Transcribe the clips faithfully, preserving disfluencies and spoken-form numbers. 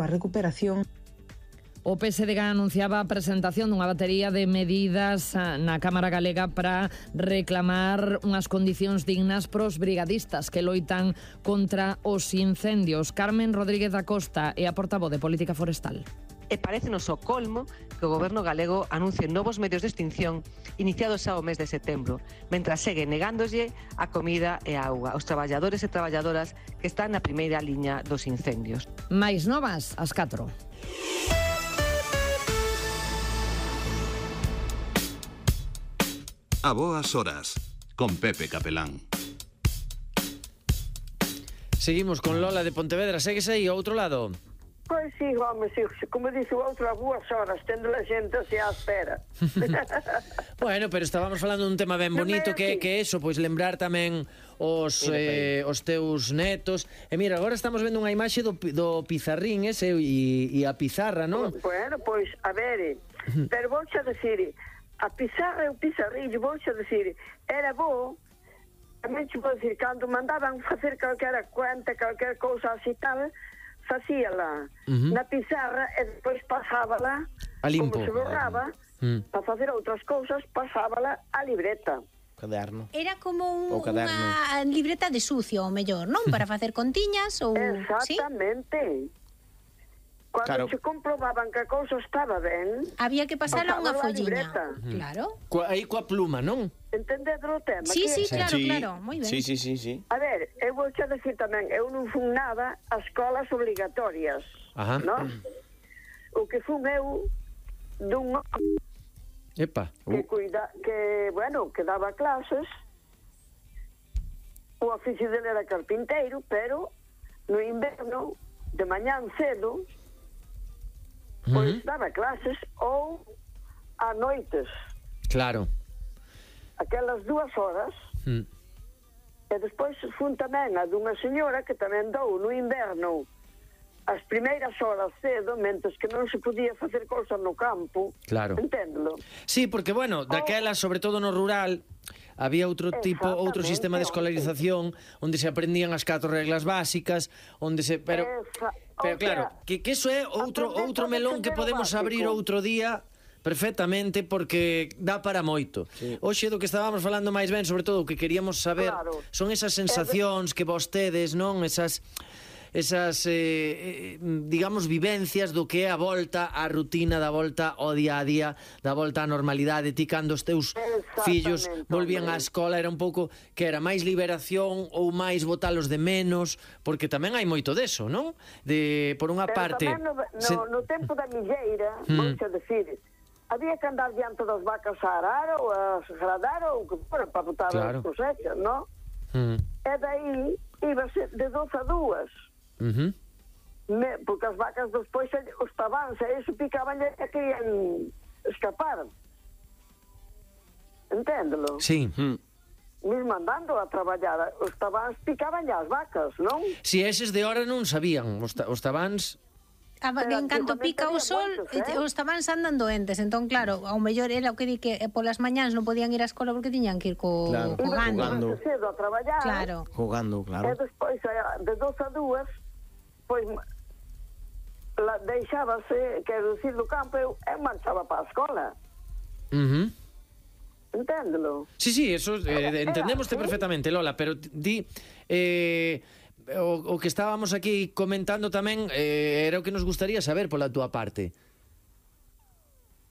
a recuperación. O P S D G anunciaba a presentación dunha batería de medidas na Cámara Galega para reclamar unhas condicións dignas pros brigadistas que loitan contra os incendios. Carmen Rodríguez da Costa é a portavoz de Política Forestal. E parécenos o colmo que o Goberno galego anuncie novos medios de extinción iniciados xa o mes de setembro, mentras segue negándolle a comida e a auga aos traballadores e traballadoras que están na primeira liña dos incendios. Mais novas, ás catro. A boas horas, con Pepe Capelán. Seguimos con Lola de Pontevedra. Segues aí ao outro lado? Pois sí, home, sí, como dice o outro, a boas horas, tendo a xente así á espera. Bueno, pero estábamos falando dun tema ben bonito que que eso, pois lembrar tamén os eh, os teus netos. E mira, agora estamos vendo unha imaxe do, do pizarrín ese e, e a pizarra, non? Bueno, pois, a ver, pero vou xa decir, a pizarra e o pizarrillo, vou xa decir, era bo, tamén xe vou decir, cando mandaban facer calquera cuenta, calquera cousa así tal, facíala uh-huh. na pizarra e depois pasábala a limpo, como se borraba, uh-huh. para facer outras cousas, pasábala a libreta. Caderno. Era como un, unha libreta de sucio, o mellor, non? Para facer contiñas ou... Exactamente. ¿Sí? Cando claro. se comprobaban que a cousa estaba ben, había que pasarla a unha folliña. Uh-huh. Claro. Coa, aí coa pluma, non? Entendedro o tema? Sí, sí, sí, claro, sí. claro, moi ben. Sí, sí, sí, sí. A ver, eu vou xa decir tamén, eu non fun nada a escolas obligatorias, Ajá. non? O que fun eu dun Epa. que cuida, que, bueno, que daba clases, o oficio dele era carpinteiro, pero no inverno, de mañán cedo, pois uh-huh. daba clases ou a noites. Claro. Aquelas dúas horas. Mm. E despois fun tamén a dunha señora que tamén dou no inverno as primeiras horas cedo, mentres que non se podía facer cousas no campo. Claro. Enténdelo? Sí, porque, bueno, daquela, sobre todo no rural, había outro tipo, outro sistema de escolarización onde se aprendían as catro reglas básicas, onde se... Pero, Esa, pero o claro, sea, que, que eso é outro, outro melón que podemos abrir outro día perfectamente, porque dá para moito. Sí. Hoxe do que estábamos falando máis ben, sobre todo o que queríamos saber, claro. son esas sensacións que vostedes, non? Esas esas eh, digamos vivencias do que é a volta á rutina, da volta ao día a día, da volta á normalidade. Ti cando os teus fillos volvían á escola era un pouco que era máis liberación ou máis botalos de menos, porque tamén hai moito deso, non? De por unha pero parte no, no, se... no tempo da milleira, hmm. vou xa decir, había que andar diante das vacas a arar ou a agradar ou que fora para botar claro. as cosechas, non? Hmm. E daí íbase de doce a dúas. Uh-huh. Me, porque as vacas despois os tabáns e iso picaban e querían escapar, enténdelo? Sí. Hmm. Mesmo andando a traballar os tabáns picaban as vacas, non? Si eses de hora non sabían os, ta, os tabáns. A, en canto pica o sol, moitos, eh? os tabáns andan doentes, entón claro, ao mellor era o que di que polas mañáns non podían ir á escola porque tiñan que ir co claro, jugando. jugando. Cedo a traballar. Claro. Jugando, claro. E despois de doce a dúas, pois la, deixábase, quero dicir, do campo e marchaba para a escola. Uh-huh. Enténdelo? Sí, sí, eso eh, entendémoste perfectamente, Lola, pero di eh, o, o que estábamos aquí comentando tamén eh, era o que nos gustaría saber pola túa parte.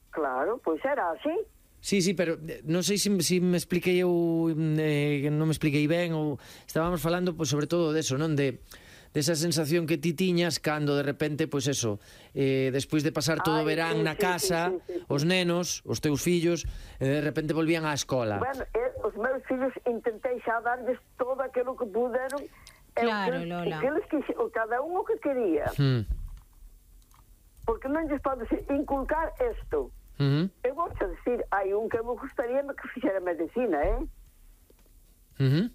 Claro, pois era así. Sí, sí, pero non sei se si, si me expliquei eu eh, non me expliquei ben ou estábamos falando pois, sobre todo deso, non? De desa sensación que ti tiñas cando de repente, pois eso, eh, despois de pasar todo o verán sí, na sí, casa, sí, sí, sí, sí. os nenos, os teus fillos, e de repente volvían á escola. Bueno, eh, os meus fillos intentei xa darles todo aquilo que puderon. Claro, que, Lola. Que eles que, cada un o que quería. Hmm. Porque non lles pode inculcar isto. Uh-huh. Eu vou xa decir, hai un que me gustaría que fixera medicina, eh? Uh-huh.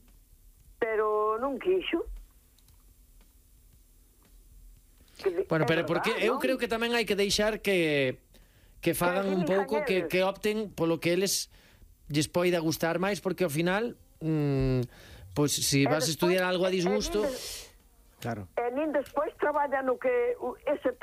Pero non quixo. Bueno, pero porque eu creo que tamén hai que deixar que que fagan un pouco, que, que opten polo que eles lles poida gustar máis, porque ao final mmm, pois se vas a estudiar algo a disgusto Claro. E nin despois traballa no que ese tal